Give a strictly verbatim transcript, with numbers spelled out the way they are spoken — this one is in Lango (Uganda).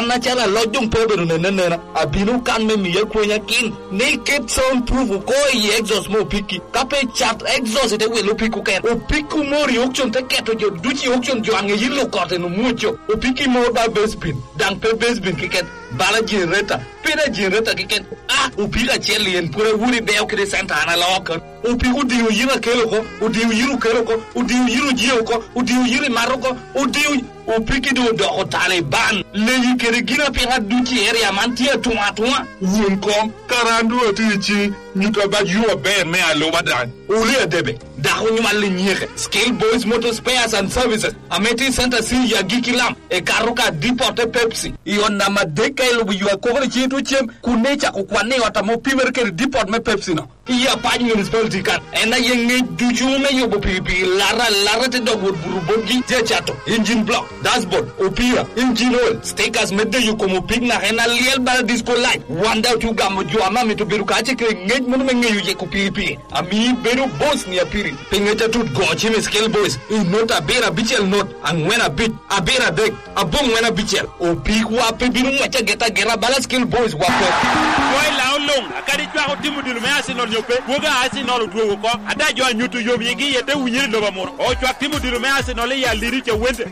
Acalo aloc doŋ pe obedo nene anena, abino kan me miya kwenya kin ni iket sound proof oko i exhaust me opiki. Ka pe cat exhaust ite wilo opik okene. Opik omor i auction te keto jo ducu i auction, jo aŋe yillo kote no mwoco. Opiki mor ba base bin, daŋ pe base bin keken, bala generator, pe da generator keken. Ah, opik acel en pwod awuri beo kede center an aloko. Opiko odiyo yiro akelo oko, odiyo yiro okelo oko, odiyo yiro ojiyo oko, odiyo yiro imato oko, odiyo opiki doŋ odoko Taliban. Leyi kede gin apiŋa ducu i area man tye atuŋ atuŋa. Wun koŋ, kara an doŋ atye i ciŋ, nyuta bac yo aber me aluba daŋ. Uli adebe, dako onywal i nyeke. Skill Boys Motor Spares and Services, ame tye i Center C i Agiki Lam, ekato ka depot te Pepsi. I ot namba adek ka ilubo yo akokoro i ciŋ itye cem, kun ne icako kwanne i ot ame opimere kede depot me Pepsi no. I Apac Municipality kan, en aye ŋec ducu me yubo pikipiki lata lata te dok wot buto botgi, tye acato engine block, dashboard, opira, engine oil, stickers me deyo kom opik naka en alyel bala disco light. Wan daŋ otye ogamo jo ame amito bedo kacel kede ŋec meno me ŋeyo yeko pikipiki. Amio ibedo boss ni apiri. Pi ŋec atut go cim i Scale Boys, i not abiro abicel not, aŋwen abic, abiro adek, aboŋwen abicel. Opikwa pe bino ŋwec ageta ageta bala Scale Boys wa pe. Kwo i Laŋo luŋ, akadi cwako tim odilo me Arsenal nyo pe, kwogo a Arsenal odwogo oko. Ada jo a nyuto yom yigi iye te winyere i lobo amuro. Ocwak tim odilo me Arsenal i Aliri Cawende.